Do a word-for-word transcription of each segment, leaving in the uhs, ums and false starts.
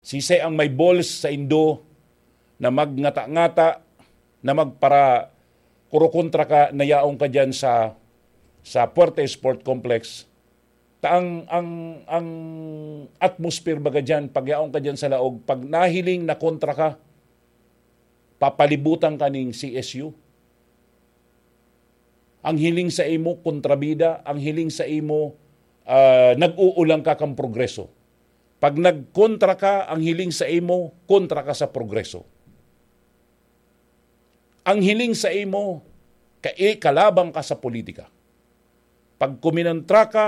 Sisay ang may balls sa indo na magngata-ngata, na magpara-, kurokontra ka na yaon ka diyan sa, sa Fuerte Sport Complex? Ta ang, ang, ang atmosphere baga diyan, pag yaon ka diyan sa laog, pag nahiling na kontra ka, papalibutan ka ning C S U. Ang hiling sa imo, kontrabida. Ang hiling sa imo, ah, nag-uulang ka kan progreso. Pag nagkontra ka, ang hiling sa imo, kontra ka sa progreso. Ang hiling sa imo, ka-, eh, kalaban ka sa politika. Pag kuminontra ka,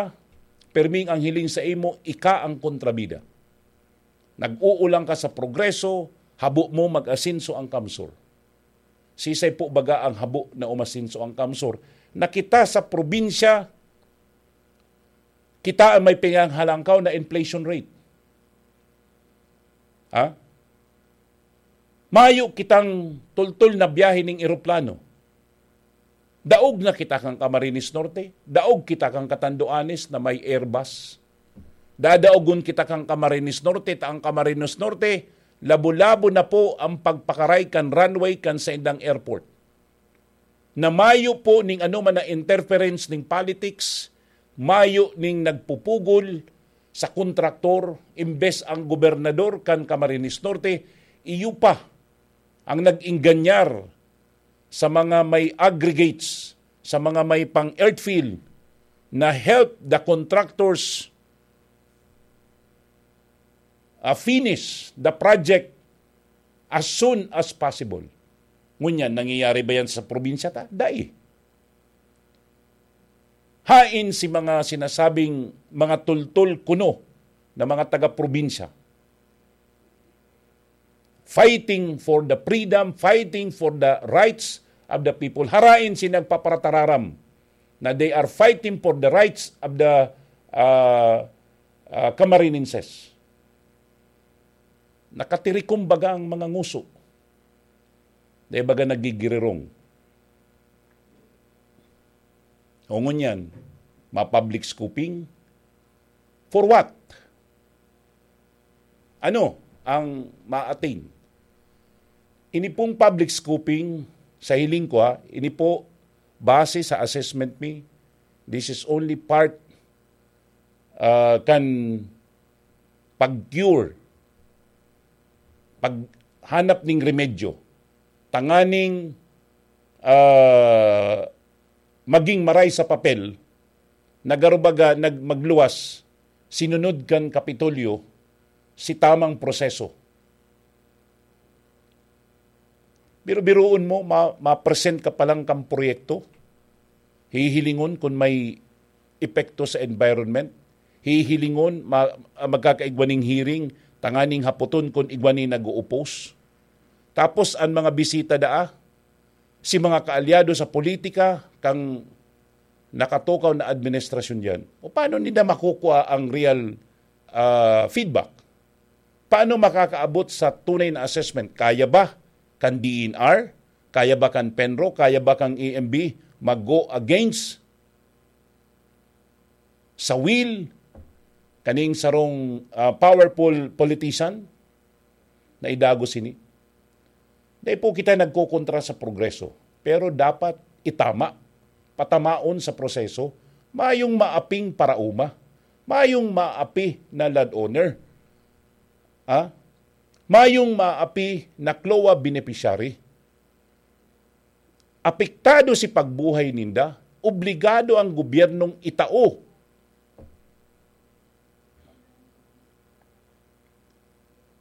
perming ang hiling sa imo, ika ang kontrabida. Nag-uulang ka sa progreso, habo mo mag-asenso ang CamSur. Sisay po baga ang habo na umasenso ang CamSur? Na kita sa probinsya, kita ang may pinanghalangkaw na inflation rate. Ha? Mayo kitang tultol na biyahe ning eroplano. Daog na kita kan Camarines Norte, daog kita kan Catanduanes na may Airbus. Dadaogon kita kan Camarines Norte, ta ang Camarines Norte, labo-labo na po ang pagpakaray kan runway kan saindang airport. Na mayo po ning anoman na interference ning politics, mayo ning nagpupugol sa kontraktor, imbes ang gobernador kan Camarines Norte, iyo pa ang nag-ingganyar sa mga may aggregates, sa mga may pang-earthfill, na help the contractors, uh, finish the project as soon as possible. Ngunyan, nangyayari ba yan sa probinsya ta? Dai. Hain si mga sinasabing mga tultol kuno na mga taga-probinsya, fighting for the freedom, fighting for the rights of the people. Harain si nagpaparatararam na they are fighting for the rights of the, uh, uh, Camarinenses. Nakatirikom baga ang mga nguso. Dahil baga nagigirirong. O ngunyan, ma-public scooping? For what? Ano ang ma-attain? Ini pong public scooping, sa hiling ko, ha, ini po, base sa assessment mi, this is only part, ah, kan pag-cure, paghanap ning remedyo, tanganing, ah, maging maray sa papel, na garo baga nag-, magluwas, sinunod kan Kapitolyo, si tamang proseso. Biro-biroon mo, ma-, ma-present ka pa lang kan proyekto, hihilingon kun may epekto sa environment, hihilingon, ma-, magkakaigwa ning hearing, tanganing hapoton kun igwa ni nag-o-oppose. Tapos, an mga bisita daa, si mga kaalyado sa politika kan nakatukaw na administrasyon diyan, o paano nila makukua ang real, ah, feedback? Paano makakaabot sa tunay na assessment? Kaya ba kan D E N R? Kaya ba kan PENRO? Kaya ba kan E M B mag-go against sa will kaning sarong, ah, powerful politician na idagos ini? Dai po kita nagkokontra sa progreso, pero dapat itama, patamaon sa proseso, mayong maaping paraoma, mayong maapi na landowner, ah, mayong maapi na CLOA beneficiary. Apektado si pagbuhay ninda, obligado ang gobyernong itao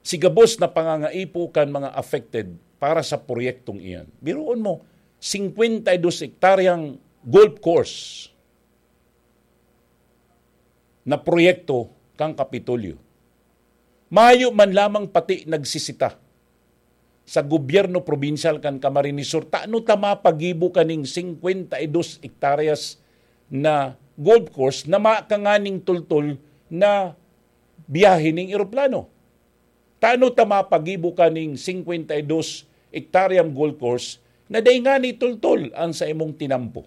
si gabos na pangangaipo kan mga affected para sa proyektong iyan. Biruon mo, singkwenta y dos hektaryang golf course na proyekto kan Kapitolyo. Mayo man lamang pati nagsisita sa gobyerno probinsyal kan Camarines Sur, tano ta mapagibo kaning singkwenta y dos hektaryas na golf course na makanganing tultol na biyahe ning eroplano? Tano ta mapagibo kaning singkwenta y dos hektaryang golf course na dai ngani tultol an sa imong tinampo?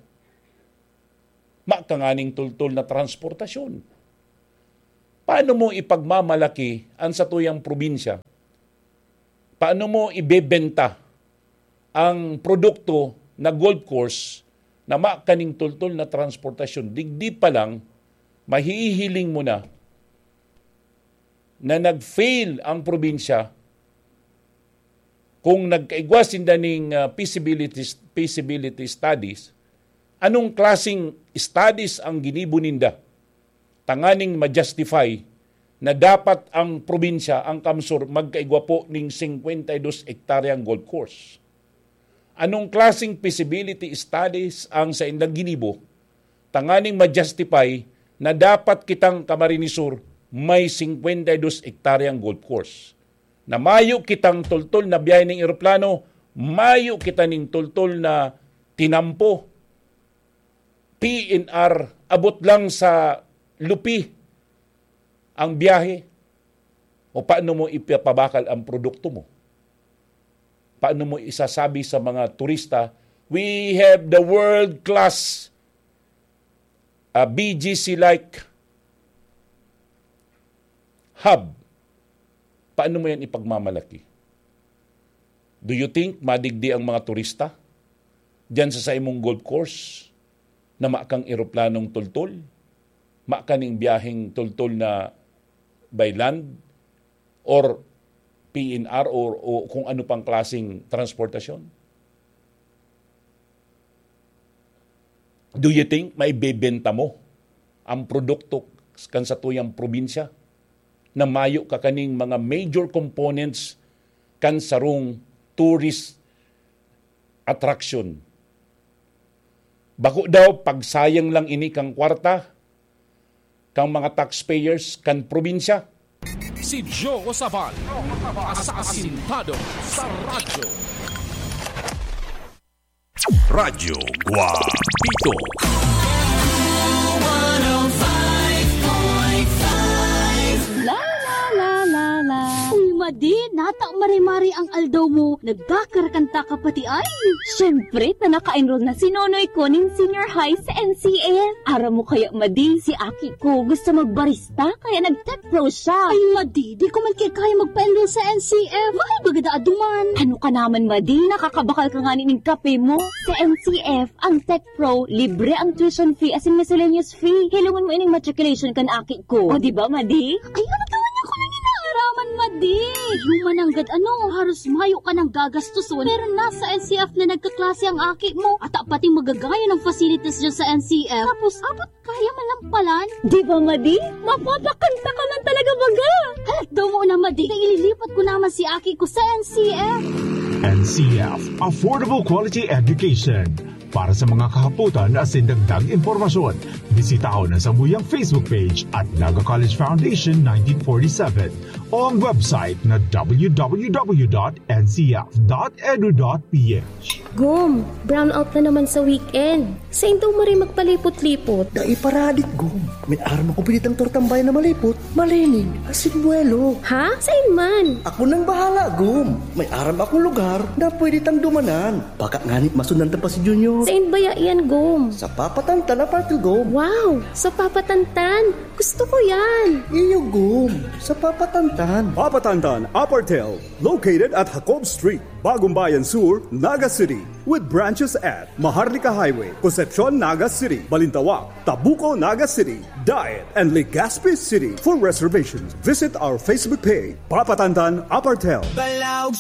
Makanganing tultol na transportasyon. Paano mo ipagmamalaki ang satuyang probinsya? Paano mo ibebenta ang produkto na golf course na ma kaning tultol na transportasyon? Digdi pa lang, mahihiling mo na na nag-fail ang probinsya kung nagkaigwa sinda ning, ah, feasibility, feasibility studies. Anong klaseng studies ang ginibo ninda tanganing ma-justify na dapat ang probinsya, ang Kamsur, magkaigwa po ning singkwenta y dos hektaryang golf course? Anong klaseng feasibility studies ang saindang ginibo tanganing ma-justify na dapat kitang Camarines Sur may singkwenta y dos hektaryang golf course? Na mayo kitang tultol na biyahe ning eroplano, mayo kita ning tultol na tinampo, P N R, abot lang sa Lupi ang biyahe. O paano mo ipapabakal ang produkto mo? Paano mo isasabi sa mga turista, "We have the world-class, ah, B G C-like hub"? Paano mo yan ipagmamalaki? Do you think madigdi ang mga turista diyan sa saimong golf course na makang eroplanong tultol? Makaning biyaheng tultol na by land or P N R or, o kung ano pang klaseng transportasyon? Do you think maibebenta mo ang produkto kan satuyang probinsya na mayo ka kaning mga major components kan sarong tourist attraction? Bako daw pagsayang lang ini kan kwarta kan mga taxpayers kan probinsya. Si Joe Sabal, asasintado sa radyo. Radyo Guapito. La, la, la, la, la. Uy, Madi, nata mare-mare ang aldaw mo. Nagkakarakanta ka pati ay. Siyempre, ta naka-enroll na si Nonoy ko nin senior high sa N C F. Aram mo kaya, Madi, si aki ko gusto magbarista, kaya nag-tech pro siya. Ay, Madi, di ko man kaya magpa-enroll sa N C F. Mahal baga daa duman. Ano ka naman, Madi? Nakakabakal ka ngani nin kape mo. Sa N C F, ang tech pro, libre ang tuition fee asin miscellaneous fee. Hilongon mo ining matriculation kan aki ko. O, di ba, Madi? Ay, ano daw niya ko nang inaaraman, Madi? Human nanggad ano, haros mayo ka nang gagastoson. Pero nasa N C F na nagkaklase ang aki mo. At pati magagaya ng facilities dyan sa N C F. Tapos, abot kaya man lang palan. Di ba, Madi? Mapapakanta ka man talaga baga! Halat daw mo na, Madi. Kaya ililipat ko naman si aki ko sa N C F. N C F, Affordable Quality Education. Para sa mga kahapotan asin dagdag impormasyon, bisitahon ang samuyang Facebook page at Naga College Foundation nineteen forty-seven o ang website na w w w dot n c f dot e d u dot p h. Gom, brownout na naman sa weekend. Sain daw maray magpalipot-lipot? Dai pa radik, Gom. May aram akong pinitang tortang bayan na malipot, malinig, asin buwelo. Ha? Sain man? Ako nang bahala, Gom. May aram akong lugar na pwede tang dumanan. Baka nganit masundan ta pa si Junior. Sain baya iyan, Gom? Sa Papatantan Apartel, Gom. Wow! Sa Papatantan! Gusto ko yan! Iyo, Gom. Sa Papatantan. Papatantan Apartel, located at Jacob Street, Bagumbayan Sur, Naga City, with branches at Maharlika Highway, Concepcion, Naga City, Balintawak, Tabuco, Naga City, Daet, and Legazpi City. For reservations, visit our Facebook page, Papatantan Apartel. Balaog